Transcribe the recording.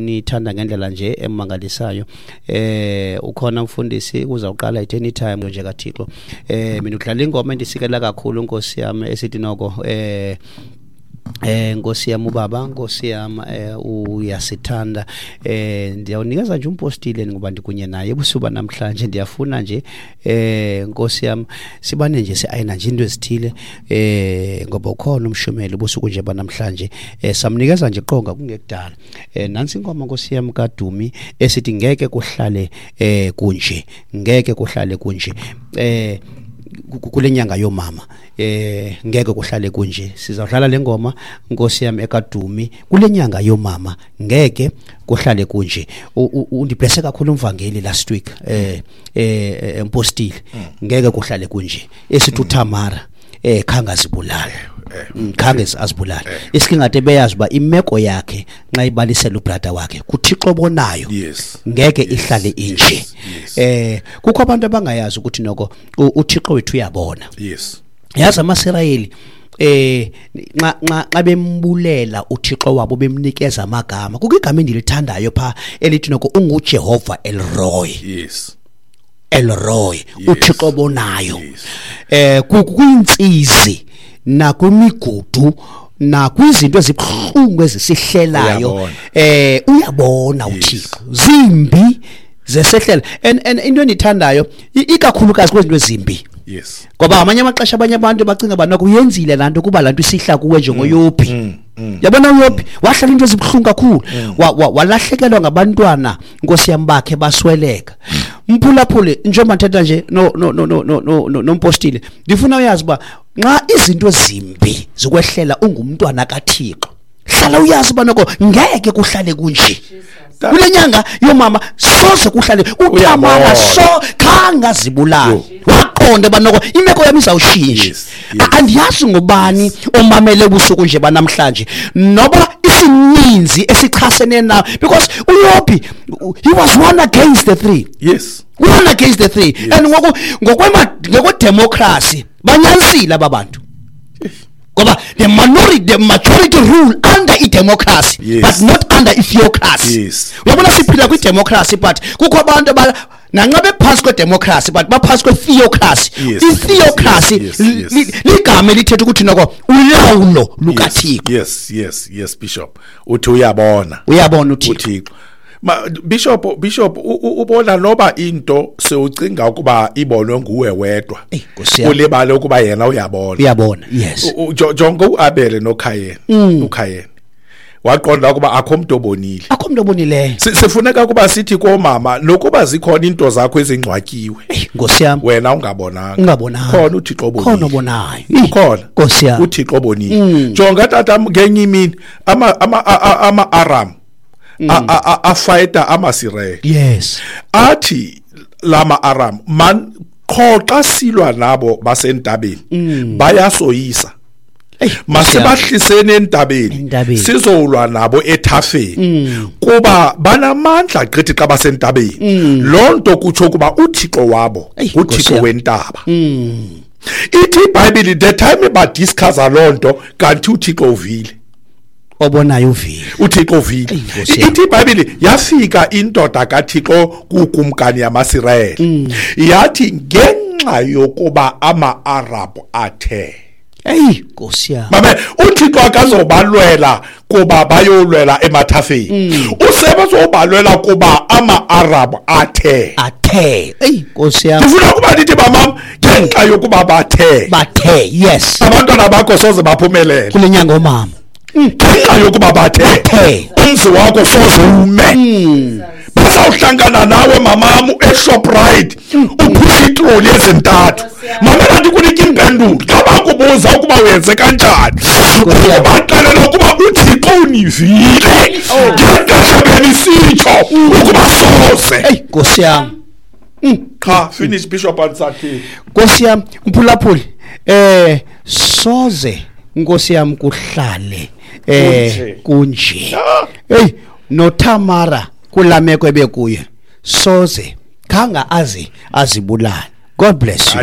Unithanda ngendlela nje emangalisayo. Ukhona umfundisi uzawuqala at any time nje kaThixo. Mina udlala ingoma endisikela kakhulu Nkosi yami esithi noko Nkosi yami ubaba, Nkosi yami uyasithanda. Ndiyawunikeza nje umpostile ngoba ndikunye naye ebusuku namhlanje. Ndiyafuna nje Nkosi yami sibane nje siayina nje into ezithile ngoba ukhona umshumeli ubusuku nje banamhlanje. Samnikeza nje qonga kungekudala. Nansi ingoma Nkosi yami kaDumi esithi ngeke kuhlale kunje, ngeke kuhlale kunje. Kule nyanga yomama ngeke kuhlale kunje. Sizawudlala le ngoma Nkosi yami ekaDumi kule nyanga yomama, ngeke kuhlale kunje. Undiblesse kakhulu umvangeli last week empostile, ngeke kuhlale kunje. Esithi uThamara khange azibulale, khange azibulale. Isikingade beyazi uba imeko yakhe nxa ibalisela ubrother wakhe kuThixo obonayo, ngeke ihlale inje. Kukho abantu abangayazi ukuthi noko uThixo wethu uyabona. Yazi amaSirayeli nxa bembulela uThixo wabo bemnikeza amagama, kukho igama endilithandayo pha elithi noko unguJehova El Roi. El Roi, uThixo obonayo. Kuyintsizi nakwimigudu nakwizinto ezibuhlungu ezisihlelayo, uyabona uThixo. Zimbi zesehlela. And into endithandayo ikakhulukazi kwezinto ezimbi. Ngoba amanye amaxesha abanye abantu bacinga ba noko uyenzile laa nto kuba laa nto isihla kuwe njengoYobhi. Yabona uYobhi wahlala into ezibuhlungu kakhulu, walahlekelwa ngabantwana Nkosi yami bakhe basweleka. Mphulaphule njengoba ndithetha nje no nompostile, ndifuna uyazi uba nxa izinto ezimbi zikwehlela ungumntwana kaThixo, hlala uyazi uba noko ngeke kuhlale kunje. Kule nyanga yomama soze kuhlale. uThamara so khange azibulale, waqonda uba noko imeko yami izawushintsha. Andiyazi ngubani omamele ubusuku nje banamhlanje noba isininzi esichasene nawe, because uYobhi he was one against the three. One against the three. And ngokwe-democracy banyanisile aba bantu. Ngoba the majority rule under i-democracy, but not under i-theocracy. Uyabona siphila kwi-democracy, but kukho abantu nanxa bephantsi kwe-democracy but baphantsi kwe-theocracy. I-theocracy ligama elithetha ukuthi noko ulawulo lukaThixo. Yes Bishop, uthi uyabona. Uyabona uThixo. Bishop ubona noba into sewucinga ukuba ibonwe nguwe wedwa, ulibale ukuba yena uyabona. Uyabona, yes. Jonga uAbele noKhayeni. uKhayeni waqonda ukuba akho umuntu obonile. Akho umuntu obonileyo. Sifuneka ukuba sithi komama nokuba zikhona into zakho ezingcwatyiwe. Nkosi yami. Wena ungabonanga. Ungabonanga. Khona uThixo obonile. Khona obonayo. Khona. Nkosi yami. uThixo obonile. Jonga tata ngenye imini ama Aram afayita amaSirayeli. Yes. Athi lama Aram man qho xa silwa nabo basentabeni bayasoyisa. Masibahliseni entabeni sizolwa nabo ethafeni kuba banamandla gqithi xa basentabeni. Loo nto kutsho kuba uThixo wabo uThixo wentaba. Ithi iBhayibhile the time badiscussa loo nto kanti uThixo uvile. Obonayo uvile. uThixo uvile. Ithi iBhayibhile yafika indoda kaThixo kukumkani yamaSirayeli yathi ngenxa yokuba ama-Arabhu athe. Hey Nkosi yami. Mame uThixo akazobalwela kuba bayolwela emathafeni. Usebazobalwela kuba ama-Arabhu athe. Athe. Hey Nkosi yami. Ndifuna ukuba ndithi bamam ngenxa yokuba bathe. Bathe, yes. Abantwana bakho soze baphumelele. Kule nyanga omama. Ngenxa yokuba bathe. Umzi wakho soze ume. Bazawuhlangana nawe mamamu eShoprite uphusha itroli ezintathu. Mamela ndikunike impendulo xa bakubuza ukuba uyenze kanjani. Ubaxelela ukuba uThixo univile ngexesha benisitsho ukuba soze. Hey Nkosi yami. Qha finish Bishop Ansakhe. Nkosi yami mphulaphuli soze Nkosi yami kuhlale kunje. Hey noThamara kulameko ebekuye soze khanga azi azibulala. God bless you.